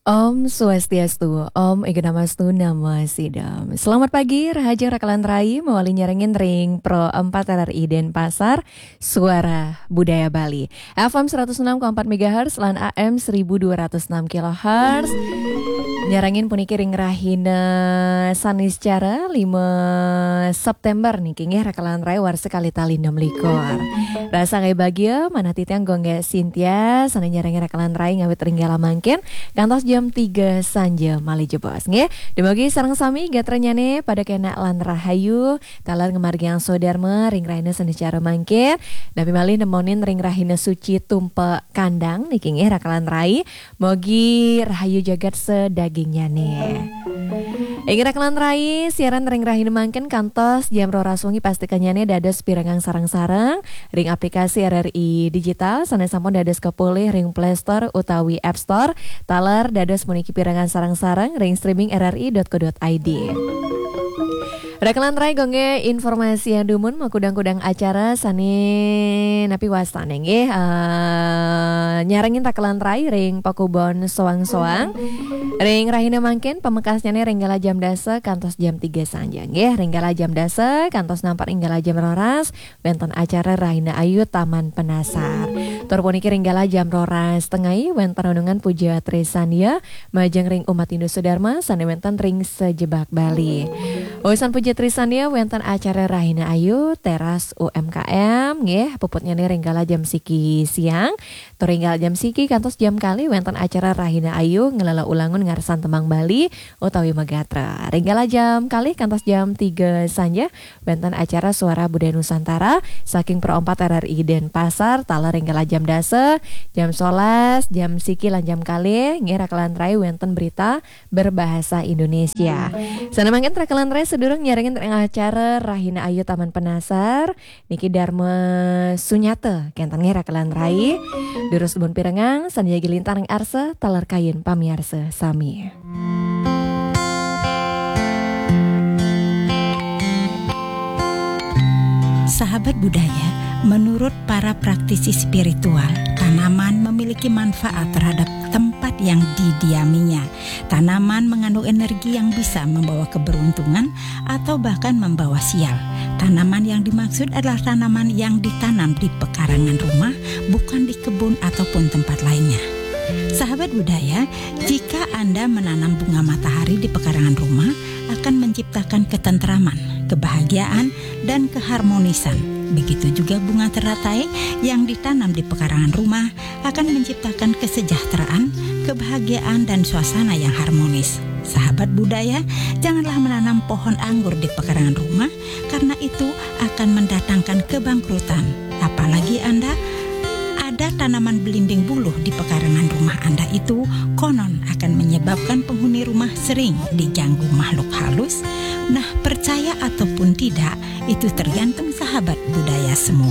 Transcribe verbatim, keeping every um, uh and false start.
Om Swastiastu, Om Ega Namastu Namo Sidam. Selamat pagi, rahajeng raka lan rai, mawali nyarengin ring Pro empat R R I Denpasar, Suara Budaya Bali. F M seratus enam koma empat megahertz lan A M seribu dua ratus enam kilohertz. Nyarengin puniki ring rahina Saniscara lima September niki nggih raka lan rai warsa kalih tali enam likur. Rasa nggih bagia, manah titiang Gung Gé Sintia, sané nyarengin raka lan rai ngawit ring galah mangkin, kantos jam tiga sanja malih jebos, nggih. Dumugi sareng sami gatranyané pada kénak lan rahayu, taler ngamargiang swadarma ring rahina Saniscara mangkin, nami malih nemonin ring rahina suci Tumpek Kandang, niki nggih raka lan rai, mugi rahayu jagat sadagingnyané. Inggih raka lan rai, siaran ring rahina mangkin kantos jam roras wengi pastikannyané dados pirengang sareng-sareng ring aplikasi R R I Digital, sané sampun dados kapolih ring Play Store utawi App Store, taler dados puniki pirengang sareng-sareng ring streaming R R I dot co dot I D. Raka lan rai, Gung Gé informasiang dumun makudang-kudang acara sané napi wastané nggih, eh, nyarengin raka lan rai ring pakubon soang-soang. Ring rahina mangkin pamekasnyané ring galah jam dasa kantos jam tiga sanja nggih. Ring galah jam dasa kantos nampek ring galah jam roras wénten acara Rahina Ayu Taman Penasar. Tur puniki ring galah jam roras tengai wénten renungan Puja Trisandya majeng ring umat Hindu Sudarma sané wénten ring sajebag Bali. Usan Puja Trisandya wénten acara Rahina Ayu teras U M K M nggih, puputnyané ring galah jam siki siang. Tur ring galah jam siki kantos jam kalih wénten acara Rahina Ayu ngelela ulangun ngarsan tembang Bali utawi magatra. Ring galah jam kalih kantos jam tiga sanja wénten acara Suara Budaya Nusantara saking Pro empat R R I Denpasar, taler ring galah jam dasa, jam solas, jam siki lan jam kalih, nggih raka lan rai wénten berita berbahasa Indonesia. Sané mangkin raka lan rai sadurung nyarengin ring acara Rahina Ayu Taman Penasar, niki Dharma Sunyata, kénten nggih raka lan rai. Durus dumun pirengang, sané jagi lintang ring arsa, taler kayun pamiarsa sami. Sahabat budaya, menurut para praktisi spiritual, tanaman memiliki manfaat terhadap tempat yang didiaminya. Tanaman mengandung energi yang bisa membawa keberuntungan atau bahkan membawa sial. Tanaman yang dimaksud adalah tanaman yang ditanam di pekarangan rumah, bukan di kebun ataupun tempat lainnya. Sahabat budaya, jika Anda menanam bunga matahari di pekarangan rumah, akan menciptakan ketentraman, kebahagiaan, dan keharmonisan. Begitu juga bunga teratai yang ditanam di pekarangan rumah akan menciptakan kesejahteraan, kebahagiaan, dan suasana yang harmonis. Sahabat budaya, janganlah menanam pohon anggur di pekarangan rumah, karena itu akan mendatangkan kebangkrutan. Apalagi Anda ada tanaman belimbing buluh di pekarangan rumah Anda itu, konon akan menyebabkan penghuni rumah sering diganggu makhluk halus. Nah, percaya ataupun tidak, itu tergantung sahabat budaya semua.